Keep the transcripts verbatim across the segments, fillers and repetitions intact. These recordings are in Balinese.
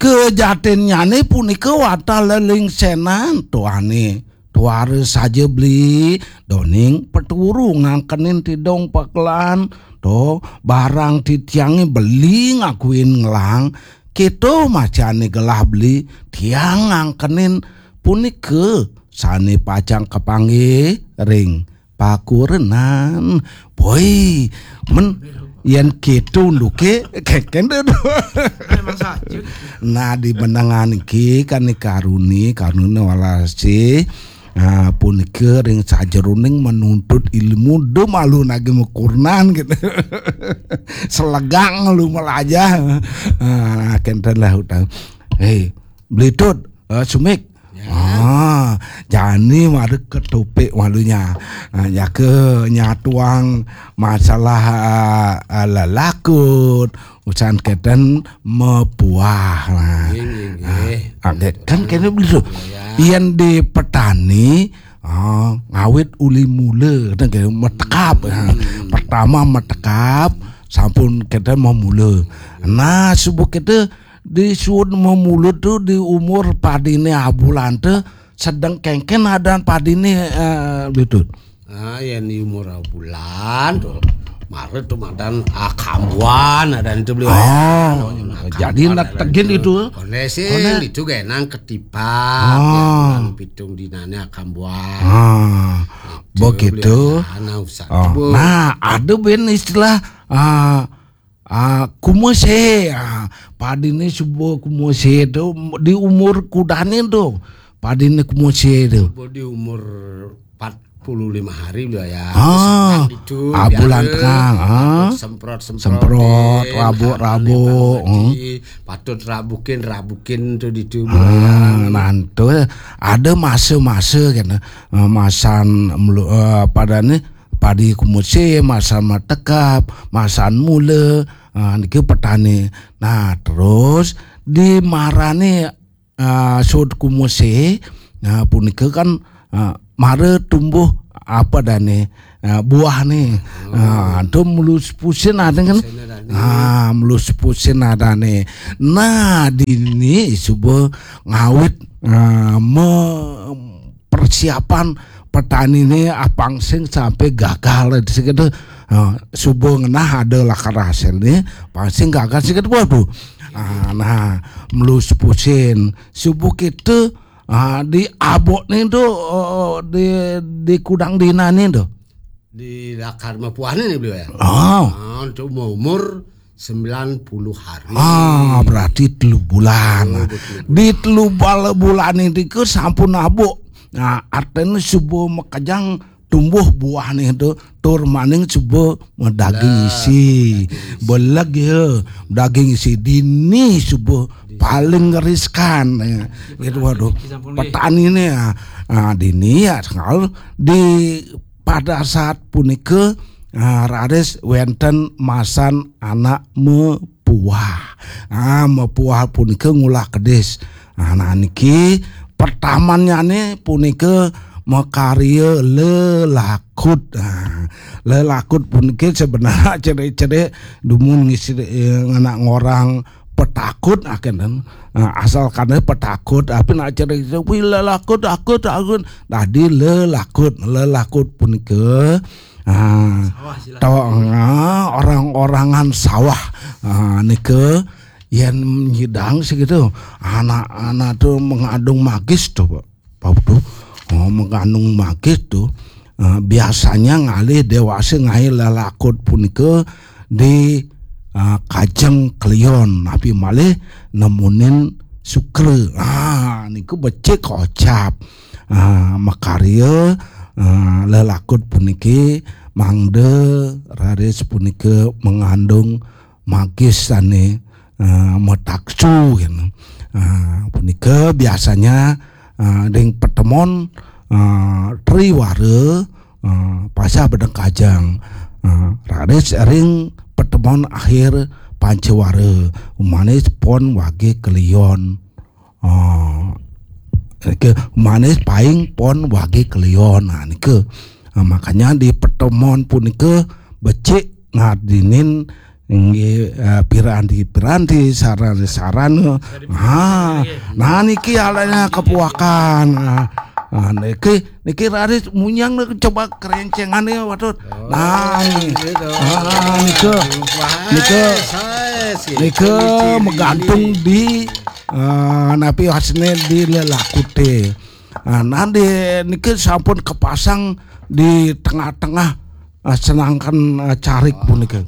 Kejatinnyane punika wantah lelingsenan tuane. Tuara saja beli doning peturu ngangkenin tidong pakelan to barang titiange beli ngakuin ngelang. Keto macane gelah beli tiang ngangkenin punika sane pacang kapanggih ring pakurenan. Boy, men yen keto luke keken deh. Memang saja. Nah, di benengan iki kan karuni karuni walasi. Nah, punika ring sajeroning menuntut ilmu de malu nagi mekurnan gitu. Selegang lu melajah. Nah, kenten lah utang. Hei, belitut, eh, sumik. Ah, jani mari ketopik malunya. Ah, jaka nyatuang masalah, ah, ah, lelakut, usan keten mepuah. Nah. Nggih, nggih, nggih. Ah, kan kene bisa. Yen di petani, ah, ngawit uli mula, keten kene metekap. Ah, pertama metekap, sampun keten memula. Nah, subuh kete di suud memula tu di umur padine abulan tu sedeng kengken adan padine, eh, betul. Ah, yen di umur abulan tu mara tu madan akambuan adan tu beli. Oh, jadi nak tegin itu. Konesin itu genang ketipak. Ah. Pitung dinane akambuan. Ah, begitu. Nah, usah. Oh, nah, ada ben istilah, ah, Ah, kumese, ah, padine suba kumese tu di umur kudane tu. Padine kumese tu. Di umur empat puluh lima hari beliau ya. Ah, itu ah, bulan tengah, ah. Semprot, semprot, semprot, rabuk, rabuk, patut rabukin, rabukin tu ditu. Ah, nantu ada masa-masa kena, ah, masan melu, ah, padane padi kumuse, masan matekap, masan mula, ah, niki petani. Nah, terus di marane, ah, sud kumuse, nah, punika kan, ah, mara tumbuh apa dane, ah, buah ni. Ah, tu mulus pusin ada kan? Ah, mulus pusin ada ni. Nah, dini suba ngawit, ah, me-, persiapan petani ni, ah, pang sing sampai gagal di situ. Ah, suba ngenah ada lakar hasil ni, pang sing gagal situ. Waduh. Ah, nah, melus pusin. Subuh kita, ah, di abok ni tu, oh, di, di kudang dina ni tu. Di lakar mapuan ni beliau ya. Oh. Ah, untuk umur sembilan puluh hari. Ah, berarti telu bulan. Oh, betul. Di telu bal-, bulan ini ke sampun abuk. Nah, artinya subuh makajang tumbuh buah ni tu tur maning subuh madaging isi. Beleg ya, daging isi dini subuh paling riskan ya. Gitu, waduh. Petani ni ya. Ah, dini ya, kalau di pada saat punika, ah, raris wenten masan anak mepuah. Ah, mepuah punika ngulah kedis. Ah, nah, niki pertamanyane punika makarya lelakut. Ah, lelakut punika sebenarnya cerik-cerik dumun ngisi, eh, nganak ngorang petakut akan. Nah, asalkan petakut, tapi nak cerik-cerik, "Wih, lelakut, takut, takut." Dadi lelakut, lelakut punika, ah, sawah, silakan. Tawang, ah, orang-orangan sawah. Ah, nika yen nyidang segitu, anak-anak tu mengandung magis tu, Pak. Pak tu, oh, mengandung magis tu, ah, biasanya ngalih dewasa ngai lelakut punika di, ah, kajeng kelion, tapi malih nemunin sukra. Ah, niku becik kocap. Ah, makarya, ah, lelakut puniki mangda raris punika mengandung magis sane, ah, mataksu, gitu. Ah, punika biasanya, ah, ring pertemuan, ah, triwara, ah, pasah bedeng kajang, ah, raris ring pertemuan akhir pancawara, umanis pon wage kelion. Ah, ke manis paing pon wage kelion. Nah, nika. Ah, makanya di pertemuan punika becik ngadinin Inggih, eh, piranti-piranti, sarana-sarana. Ha, nah niki alena kepuakan. Nah, nah, niki niki raris munyang niki coba kerencengane, waduh. Nah, niki. Ah, nika. Nika. Nika megantung di eh, napi wasne di lelakute. Nah, nanti niki sampun kepasang di tengah-tengah, eh, senangkan, eh, carik punika.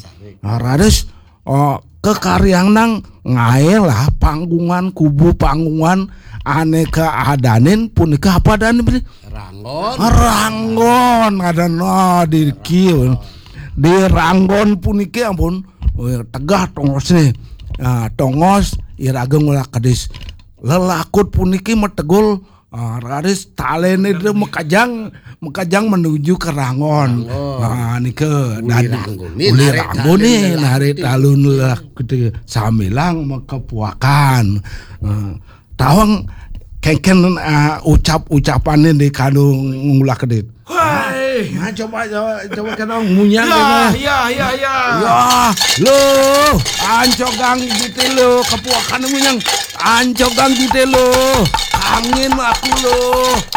Nah, raris, eh, kekaryanang ngae lah panggungan, kubu panggungan ane kaadanin punika apa adanin punika? Ranggon. Ranggon ada no di kieu. Di Ranggon puniki ampun, eh, tegah tongosne. Nah, tongos iraga ngulah kedis. Lelakut puniki metegul, ah, raris talene dia mekajang, mekajang menuju ke Ranggon. Ranggon. Ah, nika uli dan Ranggone, uli narik Ranggone, talun narik lelakut. Talun lelakut samilang mekepuakan. Ah, tawang kengken, ah, ucap-ucapane di kanu ngulah kedit. Hai. Nah, coba, coba, coba kena munyang. Ya, kena. Ya, ya, ya. Ya, lo, ancogang jite lo, kepuakan munyang. Ancogang jite lo, angin aku lo,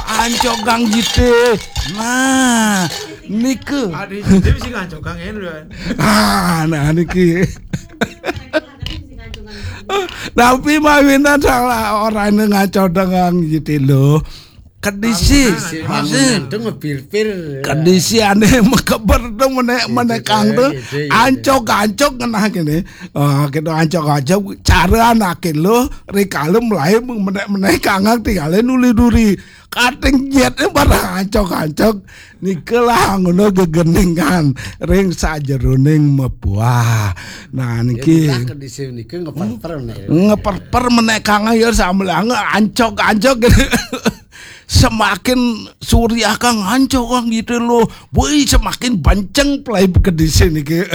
ancogang jite. Nah, nike. Ada jite bisa ngancok angin, Bro. Ah, nah niki. Tapi mawinah salah orane ngaco dengan jite lo. Kedisi, kedisi, ngepir-pir. Kedisi ane mekeber tu menek, menek kang tu. Ancok-ancok ngenah kene. Ah, kita ancok-ancok cara anake lo, rikala mulai menek-menek kangang tinggalin uli duri. Kating jet barang ancok-ancok. Nikelah ngono gegeningan ring sajeroning mepuah. Nah, niki. Kedisi niki ngeper-per nih. Ngeper-per menek kangang ya sambil ange ancok-ancok gitu. Semakin suriah kang ancok kang gitu loh. Woi, semakin benceng play kedisi niki.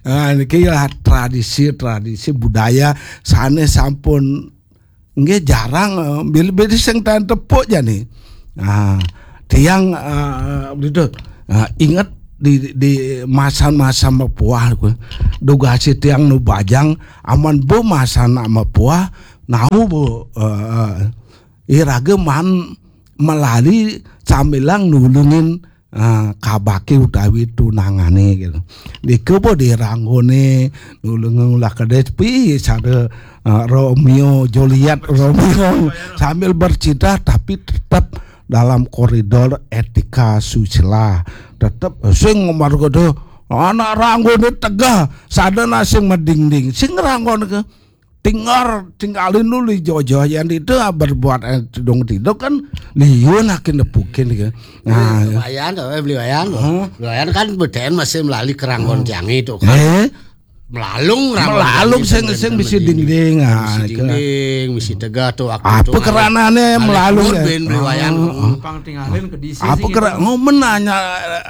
Nah, niki ya tradisi-tradisi budaya sane sampun nggih jarang, eh, bilih-bilih sing ten tepuk jani. Nah, tiang, eh, begitu. Nah, inget di, di masa-masa mepuah ku. Dugasi tiang nu bajang aman bu masa nak mepuah nau bu, eh, iraga man melali samilang nulungin, ah, kabake utawi tunangane gitu. Nika po di Ranggone nulung ngulah kedis pi sada, ah, Romeo Juliet Romeo sambil bercinta tapi tetap dalam koridor etika susila. Tetap sing ngomar kudu anak Ranggone tegah sadana sing medingding sing Ranggone ke tinggal tinggalin dulu jojo yang itu berbuat, eh, tidung tidung kan liun akin nepukin ke. Nah, lumayan tuh, eh, beli wayan tuh. Hah? Beli wayan kan beden masih melali keranggon tiang itu kan. Eh? Melalung ranggon melalung tiang sing itu sing kan bisi medingding. Dingding, ah, bisi ke dingding, bisi tegah tuh aku apa tuh keranane melalung ya? Ben beli wayan. Ah, ah. Numpang tinggalin ke disi apa sih kera gitu. Ngomen nanya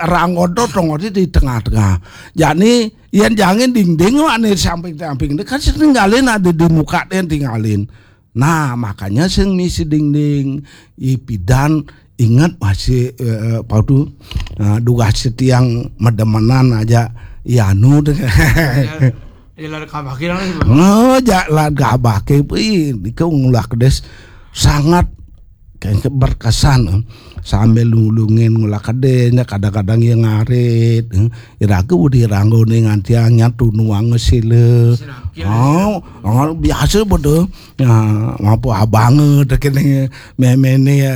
ranggon tuh tongodi di tengah-tengah. Jadi yen jangin dingding ane samping-samping kan sing tinggalin ada di muka den tinggalin. Nah, makanya sing misi dingding ipidan ingat masih, eh, eh, padu, eh, dugas tiang medemenan aja ianu deh. Ya, ya, lari kabaki lah, Bang. Oh, ja lari kabaki, ih, itu ngulah kedes sangat kayak berkesan, eh. Sambil nulungin ngulah kedenya kadang-kadang ya ngarit, eh. Iraga udi ranggone ngantiang nyatu nuang sila. Sinakil. Oh, oh, biasa bodoh. Ya, mampu abang tekene memene ya.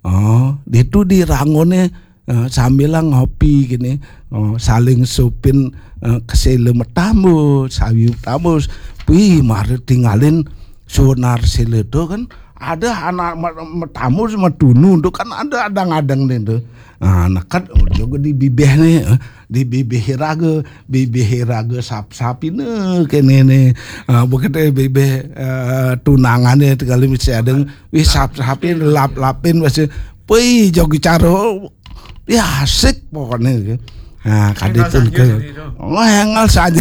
Oh, ditu di ranggone, eh, sambil ngopi gini. Oh, saling supin, eh, kesele metamu, sawi metamu. Wih, mari tinggalin sonar sila tu kan ada anak me- metamu sama tunu tu kan ada ada ngadeng ni tu. Ah, nekat juga di bibih ni, eh, di bibih raga, bibih raga sap-sapine kene ni. Ah, bukan eh bibih, eh, tunangan ni kali mesti ada wis sap-sapin lap-lapin mesti pui jogi caro ya asik pokoknya. Nah, kadipun ke ngengel saja.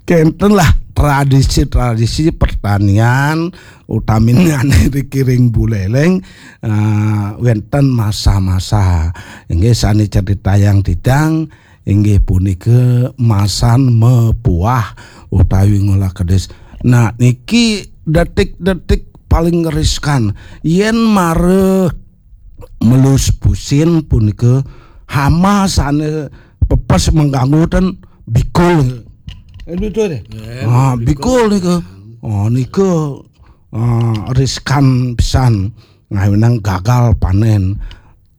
Kenten lah tradisi-tradisi pertanian utaminane dikiring buleleng, eh, wenten masa-masa. Inggih sane ceritayang titang Inggih punika masan mepuah utawi ngolah kedis. Nah, niki detik-detik paling riskan. Yen mara melus pusin punika hama sane pepes mengganggu ten bikul. Eh, betul deh. Ah, bikul nika. Oh, nika, ah, riskan pisan ngawinang gagal panen.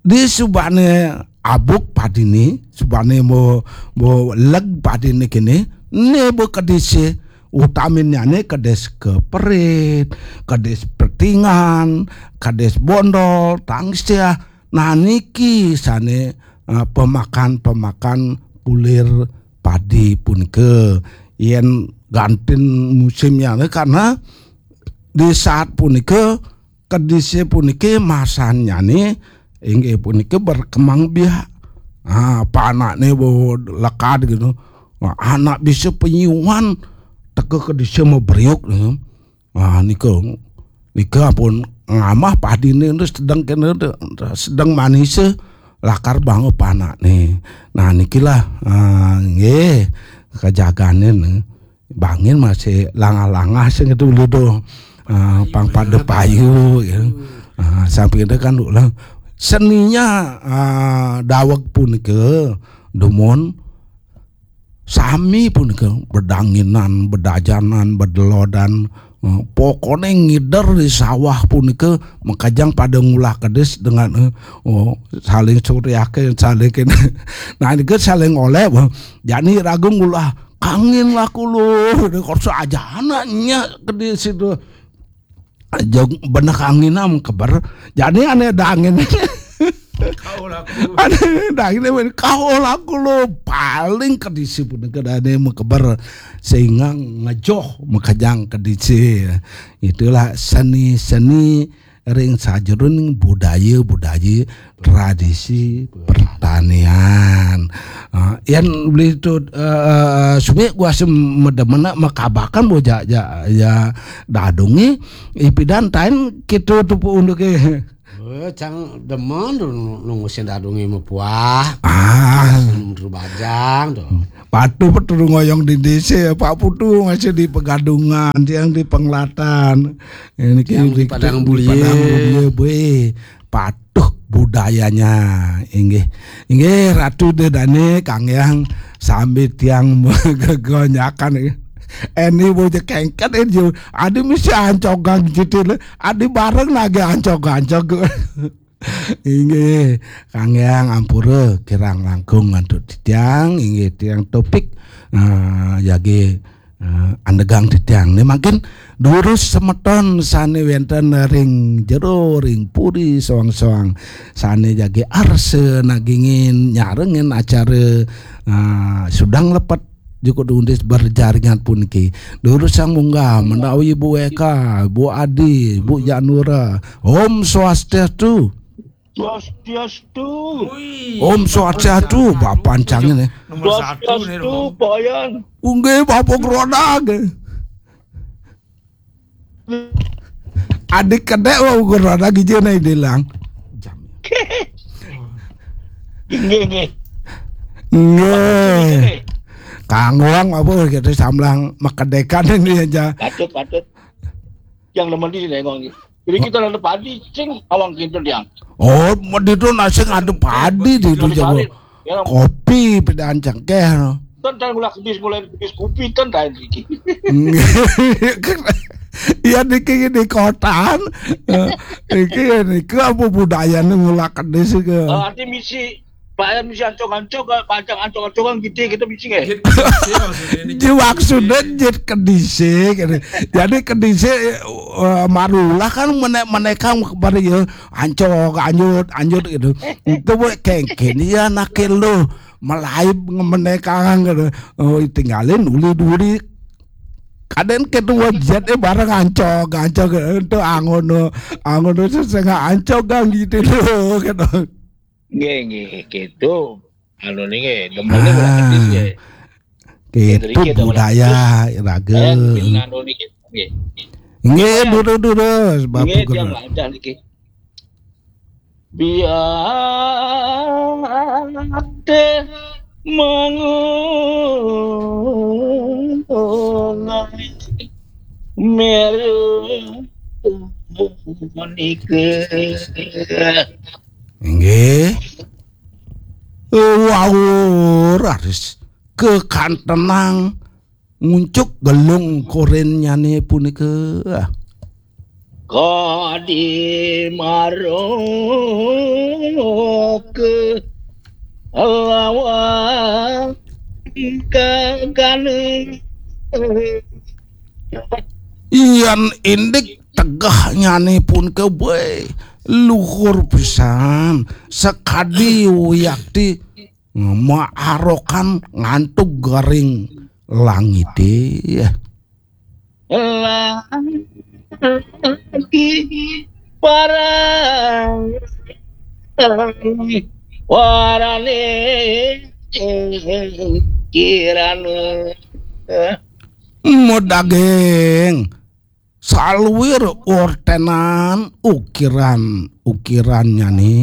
Di subane abuk padine, subane mo, mo leg padine kene, ne bo kedise, utaminyane kedis keperit, kedis pertingan, kedis bondol, tangsiah. Nah, niki sane, eh, pemakan-pemakan kulir padi punika. Yen gantin musimnyane, karena di saat punika kedise puniki masannyane inggih punika berkembang biak. Ah, panakne bo lekad gitu. Nah, anak bisa penyuan teka kedise maberiuk gitu. Ah, nika, nika pun ngamah padine itu sedang kene, sedang manise lakar bangun panakne. Nah, nikilah, ah, nggih, kejagane ne. Bangin masih langah-langah sing itu dulu tuh. Ah, pang pada payu ya. Ah, sampai itu kan ulah seninya, ah, daweg punika dumun sami punika bedanginan, bedajanan, bedelodan. Eh, pokoknya ngider di sawah punika makajang pada ngulah kedis dengan, eh, oh, saling suriake, saling kene. Nah, ini kan saling oleh, wah, jani ragu ngulah kangin lah kulo, ini kok saja anaknya kedis itu. Jog benek angin am keber. Jadi ane ada angin. Kau laku. Ane ada angin men kau laku lo paling kedisi pun kedane mekeber sehingga ngejoh makejang kedisi. Itulah seni-seni ring sajeroning budaya-budaya tradisi pertanian. Ah, yan beli tu, eh, sumik gua sem medemena makabakan bo ja, ja, ja dadungi ipidan tain kitu tu pu unduke. Eh, cang demen tu nunggu sing dadungi mepuah. Ah, bajang tu. Patuh petu ngoyong di desa, Pak Putu masih di Pegadungan, tiang di Penglatan. Ini yang di Padang Bulie. Padang Bulie, bue. Patuh budayanya. Inggih. Inggih, Ratu Dedane, Kang Yang, sambil tiang gegonyakan. Eni bocah kengket, eh, jo. Adi mesti ancogan gitu loh. Adi bareng lagi ancog-ancog. Inggih, Kang Yang ampura kirang langkung antuk titiang, inggih tiang topik, eh, jagi, eh, andegang titiang. Ini makin durus semeton sane wenten ring jero, ring puri soang-soang. Sane jagi arsa nagingin nyarengin acara, eh, sudang lepet Jukut Undis berjaringan puniki. Durus sang munggah menawi Bu Eka, Bu Adi, Bu Janura. Om Swastiastu. Swastiastu. Om Swastiastu, Bapak Ancang ini. Nomor satu nih, Swastiastu, Pak Yan. Unggih, Bapak Roda. Adik kedek wa ukur ada gijena dilang. Nggih, nggih. Nggih. Kanggoang apa gitu samlang makedekan ini aja. Patut, patut. Yang nemen di sini ngomong. Jadi kita ada padi, sing awang kintul yang. Oh, di itu nasi ada padi di itu jago. Kopi pedaan cengkeh. Ten, ten, mulai kedis, mulai kedis kopi, ten, ten, iki. Iya, niki di kotaan. Eh, iki ya, niki apa budayane ngulah kedis iki? Eh, arti misi, Pak, misi ancog-ancog, panjang ancog-ancog kan gitu, kita misi nggih. Jit kedise maksudnya ini. Ji maksudnya jit kedise gitu. Jadi kedise, eh, marulah kan menek-menekang kepada ya ancog, anjut, anjut gitu. Itu buat kengken ya nakil lo. Melaib ngemenekang gitu. Oh, tinggalin uli duri. Kadang ketua jet eh bareng ancog, ancog itu angono, angono sesengah ancog gang gitu loh gitu. Nggih, nggih, gitu. Anu nih nggih, demen nih udah kedis nggih. Gitu budaya raga. Anu nih nggih. Nggih, durus-durus, Bapak Guru. Nggih, dia nggak ada niki. Biar deh Mangungai meru punika. Inggih. Wau raris kekantenang nguncuk gelung korennyane punika. Kadi maroke lawan kagane. Yan indik tegahnyane punika, weh, luhur pisan, sakadi wiakti maarokan ngantuk garing langite. Lagi parang warane kirana. Medaging saluir ortenan ukiran-ukirannyane.